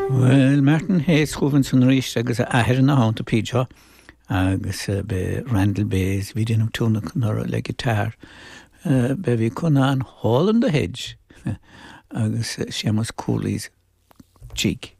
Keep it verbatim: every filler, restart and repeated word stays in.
Well Martin Hayes chugainn ansan arís agus a athair ina theannta P. agus b'é Randall Bayes bhí déanamh tionlacan orthu le guitar be bhí chun an Hole in the Hedge agus Seamus Cooley's Jig.